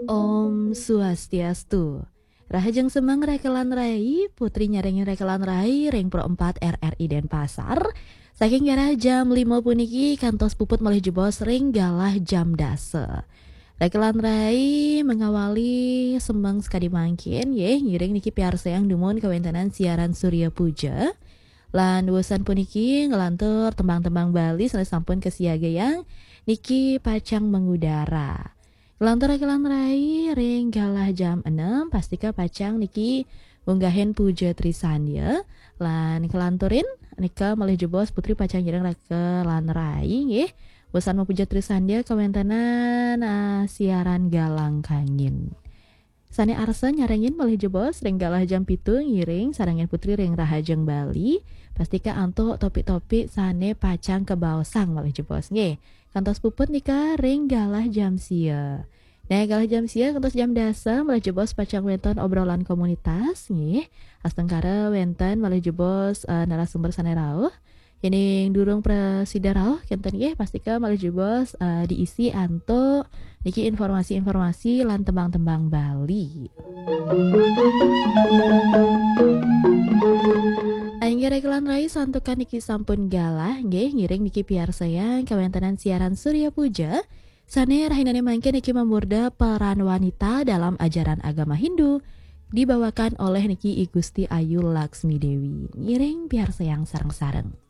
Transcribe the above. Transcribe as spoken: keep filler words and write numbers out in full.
Om Swastiastu. Rahajeng semeng rekelan rai, putri nyarengin rekelan rai ring Pro empat R R I Denpasar. Saking garah jam lima puniki kantos puput malih jebos ring galah jam dasa. Rekelan rai mengawali semeng sakadi mangkin, nggih, ngiring niki piarsayang dumun kawentenan siaran Surya Puja. Lan wusan puniki nglantur tembang-tembang Bali sane sampun kasiagayang niki pacang mengudara. Nglantur rekelan rai ring galah jam enam, pastika pacang niki ngunggahin Puja Trisandya. Lan kelanturin nika malih jebos putri pacang nyarengin rekelan rai, nggih. Wusan mapuja Trisandya kawentenan, ah, siaran Galang Kangin. Sane arsa nyarengin malih jebos ring galah jam pitu ngiring sarengin putri ring Rahajeng Bali. Pastika antuk topik-topik sane pacang kabaosang malih jebos, nggih. Kantos puput nika ring galah jam sia. Nah, galah jam sia kantos jam dasa malih jebos pacang wenten obrolan komunitas, nggih. Astungkara wenten malih jebos, eh, narasumber sane rauh. Yening durung prasida rauh kenten, nggih, pastika malih jebos, eh, diisi antuk niki informasi-informasi lan tembang-tembang Bali. Inggih rekelan rai, santukan niki sampun galah, nggih, ngiring niki piarsayang kawentenan siaran Surya Puja sane rahinane mangkin niki mamurda peran wanita dalam ajaran agama Hindu, dibawakan oleh niki I Gusti Ayu Laksmi Dewi. Ngiring piarsayang sareng-sareng.